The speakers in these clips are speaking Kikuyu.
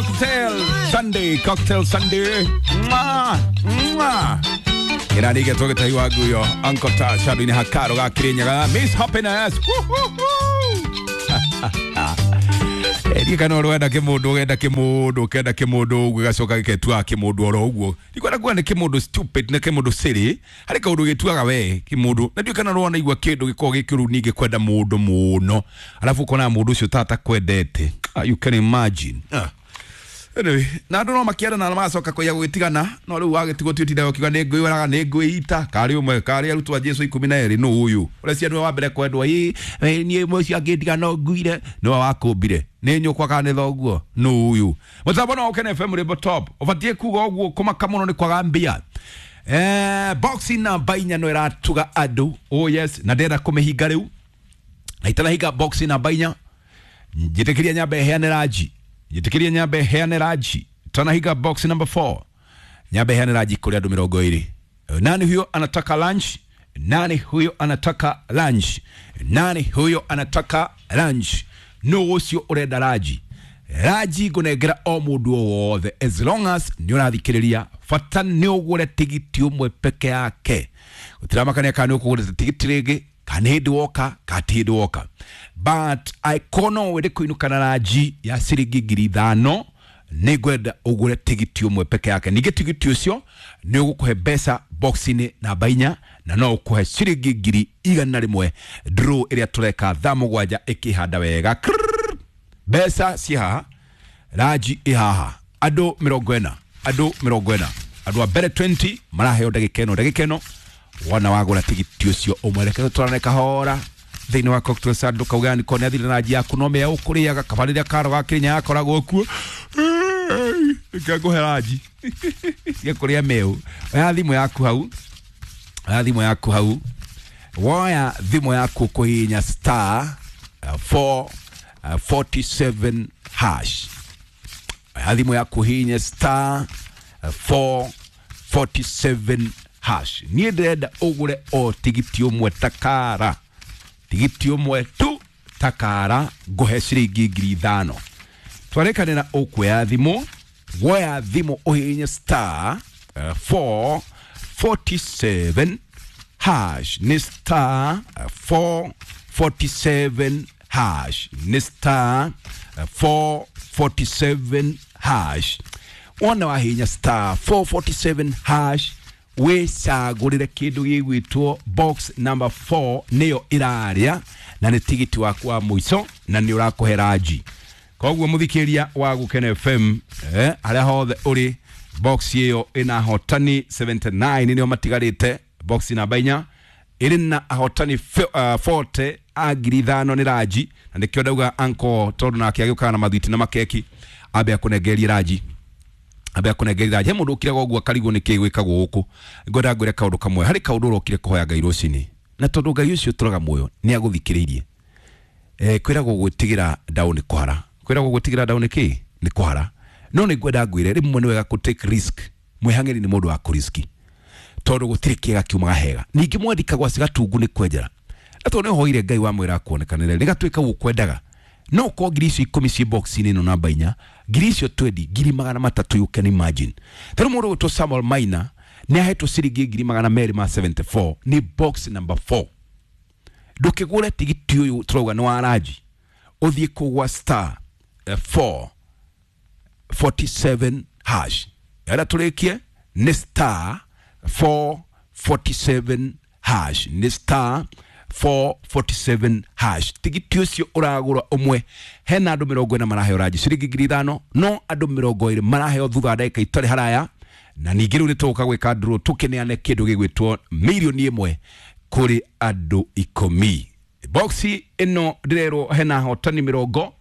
Cocktail Sunday, Cocktail Sunday. Mwah, mwah. Ĩrarĩge tũgĩtahi wa nguyo Uncle Tash handũ-inĩ ha karo ga Kĩrĩnyaga Miss Happiness. Ndiĩ kana ũrwenda kĩmũndũ ũgenda kĩmũndũ ũkenda kĩmũndũ ũguo gĩgacoka gĩketuaga kĩmũndũ oro ũguo. Ndikwenda kuga nĩ kĩmũndũ stupid na kĩmũndũ silly, harĩ kaũndũ gĩtuaga we kĩmũndũ na ndiũĩ kana nĩwanaigua kĩndũ gĩkoragwo gĩ kĩũru ningĩ kwenda mũndũ mũno arabu ũkona mũndũ ũcio ta atakwendete. Ah, you can imagine. Ah. Anyway, na andũ no makĩendana na magacoka kũiya gũgĩtigana no rĩu wagĩtigwo ti ũtindaga ũkiuga nĩ ngwĩraga nĩ ngwĩita karĩ ũmwe karĩ arutwo a Jesu 12 nũ ũyũ ũreciria nĩwe wa mbere kwendwo ĩ ĩ, niĩ mũcio angĩndiga no nguire nĩwe wakũmbire nĩ nyũkwa kana nĩ thoguo nũ ũyũ mũtambo no ũkene FM rĩmbo top ũbatiĩ kuga ũguo kũmaka mũno nĩ kwaga mbia. Boxing namba 4 no ĩratuga andũ, oh yes, na ndĩrenda kũmĩhinga rĩu na itanahinga boxing namba 4 njĩtĩkĩria nyambe heane ranji, njĩtĩkĩria nyambe heane ranji tanahinga box number 4 nyambe heane ranji kũrĩ andũ 20. Nani huyo anataka lunch? Nani huyo anataka lunch? Nani huyo anataka lunch? No ũcio ũrenda ranji. Ranji ngũnengera o mũndũ o wothe as long as nĩ ũrathikĩrĩria, bata nĩ ũgũre tigiti ũmwe peke yake. Gũtiramakania kana nĩ ũkũgũrĩte tigiti rĩngĩ kana nĩ hĩndĩ woka kana ti hĩndĩ woka, but angĩkorwo no wende kũinũka na ranji ya ciringi 5,000 nĩ ngwenda ũgũre tigiti ũmwe peke yake. Ningĩ tigiti ũcio nĩ ũgũkũhe mbeca box-inĩ namba 4 na no ũkũhe ciringi 100,000 draw ĩrĩa tũreka thaa 7 ĩkĩhanda wega. Krrrr. Mbeca ci haha, ranji ĩ haha, andũ 40, andũ 40, andũ a mbere 20 maraheo ndagĩka ĩno, ndagĩka ĩno wona wagũra tigiti ũcio ũmwe. Reke tũtwarane kahora thĩinĩ wa Cocktail Sunday, ndũkauge nĩ kona athire na ranji yaku no mĩa ũkũrĩaga kaba rĩrĩa karo ga Kĩrĩnyaga gakoragwo kuo. Reke ngũhe ranji cia kũrĩa mĩu. Oya thimũ yaku hau, oya thimũ yaku hau, woya thimũ yaku kũhihinya star 4 47 hash. Oya thimũ yaku hihinya star 447 hash. Niĩ ndĩrenda ũgũre o tigiti ũmwe takara, tigiti ũmwe tu takara, ngũhe ciringi 5,000. Twarĩkanĩra ũkuoya thimũ, woya thimũ ũhihinye star 447 hash, nĩ star 447 hash, nĩ star 447 hash. Wona wahihinya star 447 hash wĩcagũrĩre kĩndũ gĩgwĩtwo box number 4 nĩyo ĩrarĩa na nĩ tigiti waku wa mũico na nĩ ũrakũhe ranji. Koguo mũthikĩria wa Gũkena FM, harĩa hothe ũrĩ, box ĩyo ĩna ahotani 79 nĩo matigarĩte. Box namba 4 ĩrĩ na ahotani 40 a 5,000 nĩ ranji, na nĩkĩo ndauga uncle tondũ nake agĩũkaga na mathwiti na makeki ambe akũnengerie ranji, ambe akũnengerie ranji. He mũndũ ũkiraga ũguo akarigwo nĩkĩ gwĩkagwo gũkũ. Ngwenda ngwĩre kaũndũ kamwe, harĩ kaũndũ ũrokire kũhoya Ngai rũcinĩ, na tondũ Ngai ũcio ũtũraga muoyo nĩ agũthikĩrĩirie. Kwĩragwo gwĩtigĩra ndaũ nĩ kũhara, kwĩragwo gwĩtigĩra ndaũ nĩ kĩ nĩ kũhara. No nĩ ngwenda ngwĩre rĩmwe nĩ wega kũ take risk. Mwĩhang'ĩri nĩ mũndũ wa kũriski tondũ gũtirĩ kĩega kiumaga hega. Ningĩ mwandĩkagwo cigatungu nĩ kwenjera, na tondũ nĩ ũhoire Ngai wamwĩra akuonekanĩre rĩgatuĩka gũkwendaga, no ũkorwo ngiri icio 10 ciĩ box-inĩ ĩno namba 4, ngiri icio 20, 300,000, you can imagine. Ta rĩu mũndũ ũgwĩtwo Samuel Maina nĩ ahetwo ciringi 274,000 nĩ box number 4. Ndũkĩgũre tigiti ũyũ tũrauga nĩ wa ranji, ũthiĩ kũgwa star 447 hash. Ĩrĩa tũrĩkie nĩ star 447 hash, nĩ star 447 hash. Tigiti ũcio ũragũra ũmwe, hena andũ 40 maraheo ranji ciringi 5,000, no andũ 20 maraheo thutha wa ndagĩka itarĩ haraya. Na ningĩ rĩu nĩ tũgũka gwĩka draw tũkĩneane kĩndũ gĩgwĩtwo 1,000,000 kũrĩ andũ 10. Boxi ĩno ndĩrerwo hena ahotani 20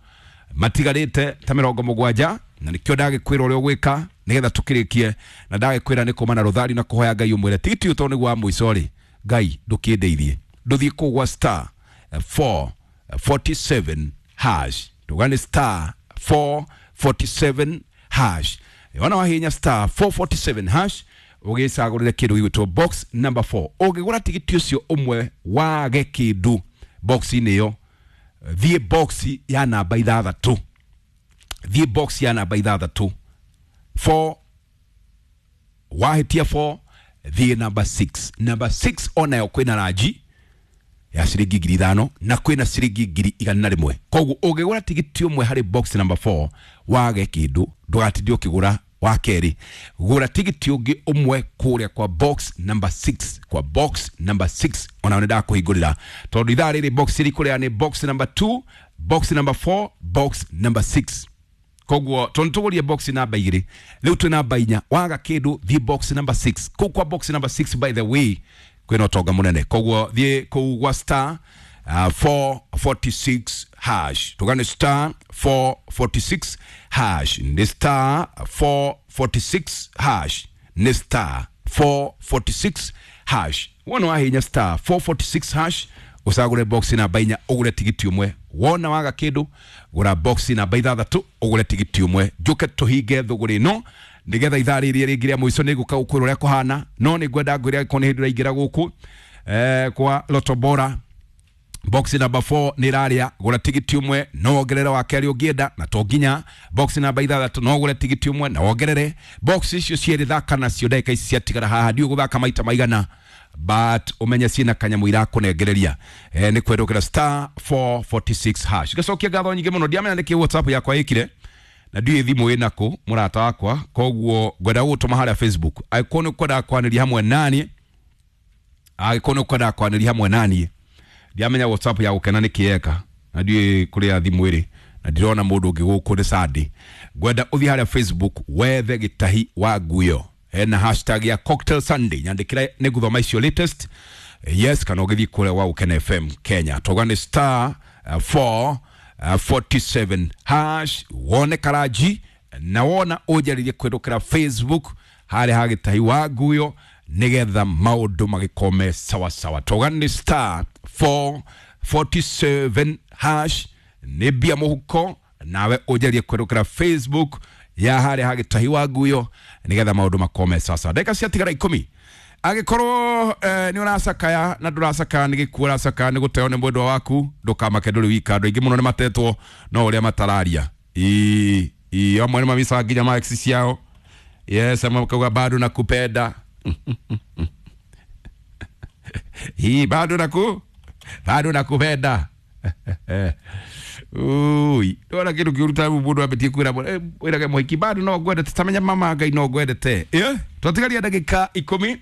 matigarĩte ta 70, na nĩkĩo ndagĩkwĩra ũrĩa ũgwĩka nĩgetha tũkĩrĩkie, na ndagĩkwĩra nĩ kuma na rũthari na kũhoya Ngai ũmwĩre tigiti ũyũ tondũ nĩguo wa mũico rĩ, Ngai ndũkĩndeithie. Ndũthiĩ kũgwa star 447 hash, tuga nĩ star 447 hash. Wona wahihinya star 447 hash ũgĩcagũrĩre kĩndũ gĩgwĩtwo box number 4. Ũngĩgũra tigiti ũcio ũmwe wage kĩndũ box-inĩ ĩyo, thiĩ box ya namba 6. Thiĩ box ya namba 6 4, wahĩtia 4 thiĩ namba 6. Namba 6 onayo kwĩna ranji ya ciringi 5,000 na kwĩna ciringi 101,000. Koguo ũngĩgũra tigiti ũmwe harĩ box number 4 wage kĩndũ, ndũgatinde ũkĩgũra wa kerĩ, gũra tigiti ũngĩ ũmwe kũrĩa kwa box number 6, kwa box number 6. Onayo nĩ ndakũhingũrĩra tondũ ithaa rĩrĩ box ĩrĩ kũrĩa nĩ box number 2, box number 4, box number 6. Koguo tondũ tũgũrie box namba 2, rĩu twĩ namba 4, waga kĩndũ thiĩ box number 6. Kũu kwa box number 6, by the way, kwĩna ũtonga mũnene. Koguo thiĩ kũu gwa star 446 hash, tũgane star 446 hash, nĩ star 446 hash, nĩ star 446 hash. Wona wahinya star 446 hash ũcagũre box namba 4 ũgũre tigiti ũmwe. Wona waga kĩndũ gũra box namba 6 ũgũre tigiti ũmwe. Njũke tũhinge thũgũrĩ ĩno nĩgetha ithaa rĩrĩ rĩngĩ rĩa mũico nĩ ngũka gũkwĩra ũrĩa kũhana, no nĩ ngwenda ngwĩre angĩkorwo nĩ hĩndĩ ũraingĩra gũkũ kwa Lotto Bora, box number 4 nĩ ĩrarĩa, gũra tigiti ũmwe no wongerere wa kerĩ ũngĩenda, na to nginya box namba 6 no ũgũre tigiti ũmwe na wongerere. Box icio cierĩ thaka nacio ndagĩka ici ciatigara haha, ndiũĩ gũthaka maita maigana, but ũmenye ciĩna kanyamũ irakũnengereria. Nĩ kwendũkĩra star 446 hash. Ngacokia ngatho nyingĩ mũno, ndiamenya nĩkĩ WhatsApp yakwa ĩkire na ndiũĩ thimũ ĩnakũ mũrata wakwa, koguo ngwenda gũgũtũma harĩa Facebook angĩkorwo nĩ ũkwendaga kwanĩria hamwe naniĩ, angĩkorwo nĩ ũkwendaga kwanĩria hamwe naniĩ. Ndiamenya WhatsApp ya gũkena nĩ kĩeka na ndiũĩ kũrĩa thimũ ĩrĩ na ndirona mũndũ ũngĩ gũkũ nĩ Sunday. Ngwenda ũthiĩ harĩa Facebook wethe Gĩtahi wa Nguyo, hena hashtag ya Cocktail Sunday, nyandĩkĩra nĩ ngũthoma icio latest. Yes, kana ũgĩthiĩ kũrĩa gwa Gũkena FM Kenya, toga nĩ star 447 hash, wone karanji na wona ũnjarĩrie kwĩrũkĩra Facebook harĩa ha Gĩtahi wa Nguyo nĩgetha maũndũ magĩkome sawasawa. Toga nĩ star 447 hash, nĩ mbia mũhuko, nawe ũnjarĩrie kwĩrũkĩra Facebook ya harĩa ha Gĩtahi wa Nguyo nĩgetha maũndũ makome sawasawa. Ndagĩka ciatigara 10. Angĩkorwo nĩ ũracakaya na ndũracakaya nĩ gĩkuũ ũracakaya nĩ gũteo nĩ mwendwa waku, ndũkamake, ndũrĩ wika. Andũ aingĩ mũno nĩ matetwo no ũrĩa matararia. Ii amwe nĩ mamicaga nginya ma ex ciao. Yes, amwe makauga bado nakupenda. Hii bado bado nakupenda. Ui, ndona kĩndũ kĩũru ta mũndũ ambĩtie kwĩra wĩrage mũhiki bado no ngwendete, tamenya mama Ngai no ngwendete. Twatigaria ndagĩka 10.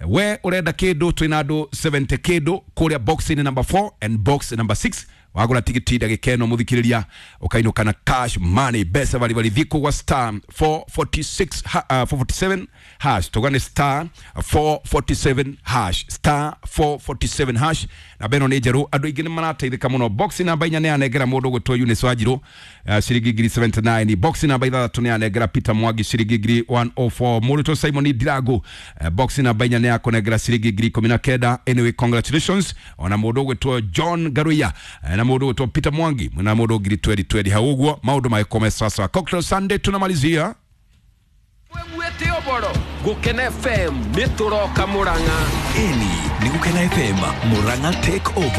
We ũrenda kĩndũ, twĩna andũ 70 kĩndũ kũrĩa box number 4 and box number 6. Wagũra tigiti ndagĩka ĩno mũthikĩrĩria ũkainũka na cash money, mbeca baribari. Thiĩ kũgwa star 446 447 hash, tũgane star 447 hash, star 447 hash. Na beno nĩ njerũ, andũ aingĩ nĩ marateithĩka mũno. Box namba 4 nĩ yanengera mũndũ ũgwĩtwo Eunice Wanjirũ ciringi 79. Box namba 6 nĩ yanengera Peter Mwangi ciringi 104. Mũrutwo Simon Ndirangu, box namba 4 nĩ yakũnengera ciringi 19,000. Anyway, congratulations ona mũndũ ũgwĩtwo John Garuya na mũndũ ũgwĩtwo Peter Mwangi na mũndũ 2020 hau ũguo maũndũ magĩkome sasa. Cocktail Sunday tunamalizia Mwete oboro Gukena FM nĩ tũroka Murang'a. Ĩni nĩ Gũkena FM Murang'a take over.